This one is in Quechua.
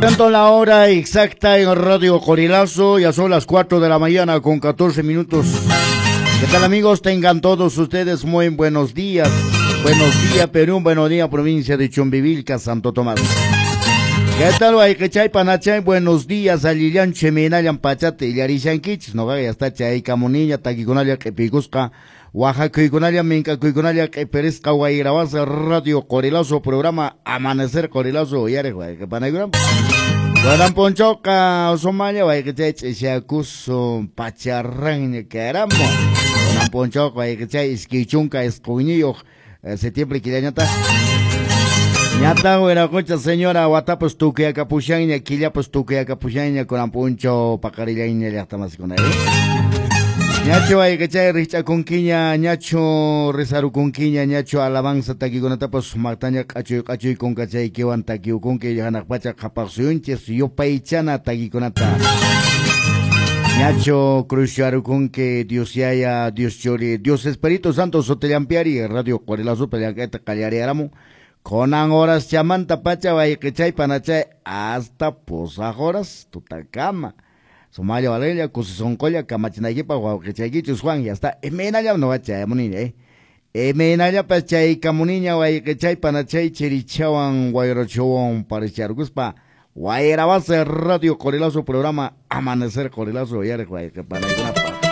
Tanto la hora exacta en Radio Qorilazo, ya son las 4 de la mañana con 14 minutos. ¿Qué tal, amigos? Tengan todos ustedes muy buenos días. Buenos días, Perú, buenos días, provincia de Chumbivilca, Santo Tomás. ¿Qué tal, wayqichay, panachay? Buenos días, allillanchu, imaynallan pachata illarishankichis. Noqaqa ya está chaykamuniña, takikunalla q'ipikusqa, waqakuykunalla, mink'akuykunalla q'ipirisqa wayrawasa Radio Qorilazo, programa Amanecer Qorilazo, uyariq wayqi panaykuna. Kunan p'unchawqa sumalla wayqichay ch'isyakusun pacharranña karamu. Kunan p'unchawqa wayqichay 29 septiembre killañataq. Ñataq wiraqucha señora watapas tukuyakapushanña, killapas tukuyakapushanña, kunan p'unchaw paqarillayña llaqtamasikuna. Ñachu wayqichay rikch'akunkiña, ñachu risarukunkiña, ñachu alabanza takikunatapas sumaqtaña q'achuy q'achuy kunkachaykiwan takiukunki hanaq pacha qhapaq suyunchis yupaychana takikunata. Ñachu cruzcharukunki Dios Yaya, Dios Churi, Dios Espíritu Santo sutillampiari, Radio Qorilazo llank'ayta qallariaramun. Kunan horas chamanta pacha wayqichay panachay hasta pusaq horas tutakama. Sumalla valeria, kusisonqolla kamachinaykipaq wawqichaykichus Juan, ya está. Imaynallam noqa chayamuniña, Imaynallapas chaykamuniña wayqichay panachay chirichawan wayrachawan paricharkuspa Wayrawasa Radio Qorilazo programa Amanecer Qorilazo uyariq wayqi panaykuna.